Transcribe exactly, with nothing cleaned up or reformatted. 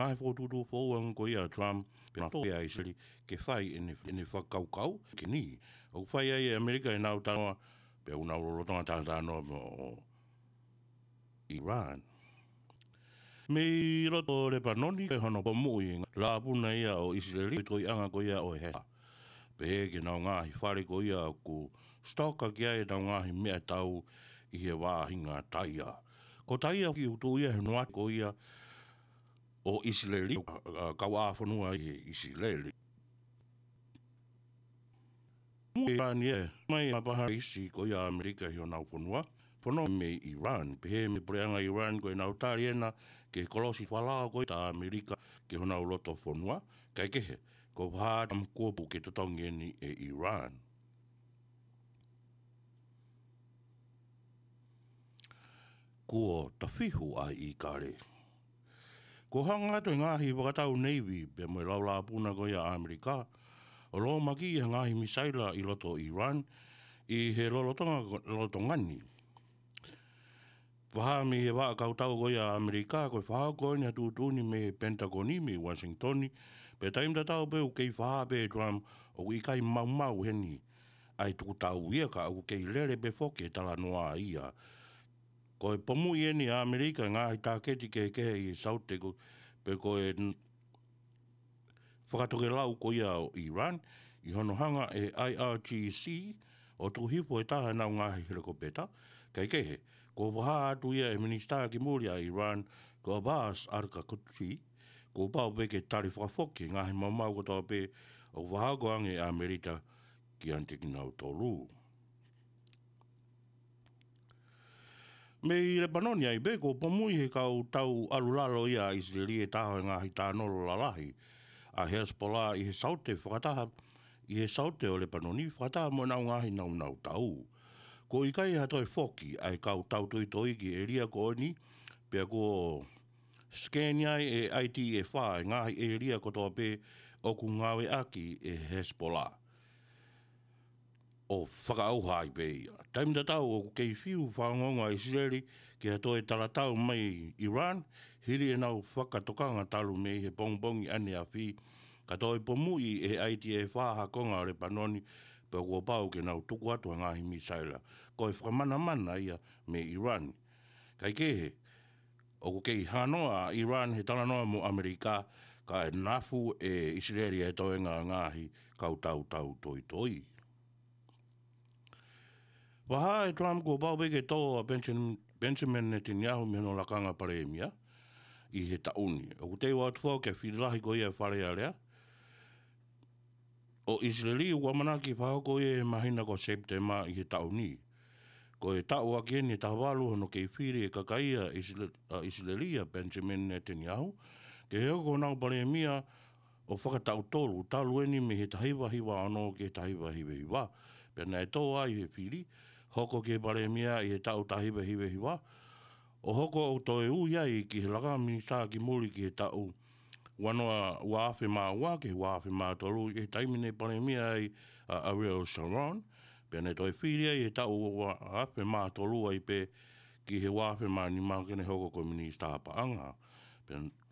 ngaahi fokotuʻutuʻu foʻou ange ko ia ʻa Trump, pea naʻe tō ia ʻa ʻIsileli ke fai ʻene, ʻene fakakaukau ke ni. ʻOku fai ai ʻe ʻAmelika ʻenau talanoa, pea ʻoku nau lolotonga talanoa mo ʻIran. Mei loto Lepanoni, ko hono pomuʻi e lapuna ia ʻo ʻIsileli, ko e toiʻanga ko ia ʻo e Hezbollah. Pehē ki heʻenau ngaahi fale ko ia ʻoku sitoka ki ai ʻenau ngaahi meʻatau ʻi he vaʻinga taia. Ko taia ki utu ia he noa ko ia ʻo ʻIsileli, ʻa, ʻa, kau ʻā fonua ʻi he ʻIsileli. Mo ʻIran ia, mai ʻa e paha isi ko ia ʻAmelika ʻi honau fonua, fono mei ʻIran. Pehē mei he puleʻanga ʻIran ko ʻenau tali ena ki he kolosi falao ko ia ʻa ʻAmelika ki honau loto fonua, kae kehe, ko e vaha tam kuopu ke totongi eni ʻe ʻIran. Kuo tafihu ʻa e ʻīkale. Kuo hanga atu e ngaahi fakatau neivi pea mo e laulapuna ko ia ʻa ʻAmelika ʻo lōmaki e ngaahi misaila ʻi loto ʻIran ʻi he lolotonga, lolotonga ni. Fakahā mei he vaʻa kautau ko ia ʻa ʻAmelika, ko e fakahoko eni ʻa e tuʻutuʻuni mei he Pentagon mei Washington, pea taimi tatau pē ʻoku kei fakahā pē ʻe Trump ʻoku ʻikai maumau heni ʻa e tukutau ia ka ʻoku kei lele pē foki e talanoa ia. Ko e pomuʻi eni ʻa ʻAmelika e ngaahi tāketi kehekehe ʻi he Saute ko, pe ko e n-, fakatokelau ko ia ʻo ʻIran, ʻi hono hanga ʻe he I R G C ʻo tuku hifo e taha ʻenau ngaahi helikopeta, kae kehe, kuo fakahā atu ia ʻe he minisitā ki muli ʻa ʻIran, ko Abbas Araghchi, kuo pau pē ke tali fakafoki e ngaahi maumau kotoa pē ʻoku fakahoko ange ʻe ʻAmelika kiate kinautolu. Mei Lepanoni ai pē, kuo pomuʻi ʻe he kau tau ʻalu lalo ia ʻa ʻIsileli e taha ʻo e ngaahi tānolo lalahi ʻa Hezbollah ʻi he Saute fakataha, ʻi he Saute ʻo Lepanoni fakataha mo ʻenau ngaahi naunau tau. Kuo ʻikai ha toe foki ʻa e kau tau toitoi ki he ʻēlia ko eni, pea kuo sikeni ai ʻe I D F e ngaahi ʻēlia kotoa pē ʻoku ngāueʻaki ʻe Hezbollah ʻo fakaʻauha ai pē ia. Taimi tatau ʻoku kei fiu fakaongoongo ʻa ʻIsileli ki ha toe talatau mai ʻIran, hili ʻenau fakatokanga talu mei he pongipongi ʻaneafi, ka toe pomuʻi ʻe he I D F ha konga ʻo Lepanoni, pea kuo pau ke nau tuku atu ha ngaahi misaila. Ko e fakamanamana ia mei ʻIran. Kae kehe, ʻoku kei hanoa ʻa ʻIran he talanoa mo ʻAmelika, kae nafu ʻe ʻIsileli e toenga ngaahi kau tau tau toitoi. Fakahā ʻe Trump kuo pau pē ke tō ʻa Benjamin, Benjamin Netanyahu mei hono lakanga palēmia ʻi he taʻu ni. ʻOku teu atu foki e fili lahi ko ia ʻa e Fale Alea ʻo ʻIsileli, ʻoku ʻamanaki fakahoko ia he māhina ko Sepitema ʻi he taʻu ni. Ko e taʻu ʻaki eni ʻe taha valu hono kei fili ʻe he kakai ʻa ʻIsile-, ʻa ʻIsileli ʻa Benjamin Netanyahu ke hoko ko honau palēmia ʻo fakataʻu tolu, talu eni mei he taha hiva hiva ono ki he taha hiva hiva hiva. Pea naʻe tō ai he fili, hoko ki he palēmia ʻi he taʻu taha hiva hiva hiva, ʻo hoko ʻo toe ui ai ki he lakanga minisitā ki muli ki he taʻu ua noa, ua afe mā ua ki he ua afe mā tolu, ʻi he taimi naʻe palēmia ai ʻa Ariel Sharon, pea naʻe toe fili ai he taʻu ua afe mā tolu ai pē ki he ua afe mā nima ke ne hoko ko e minisitā paʻanga. Pea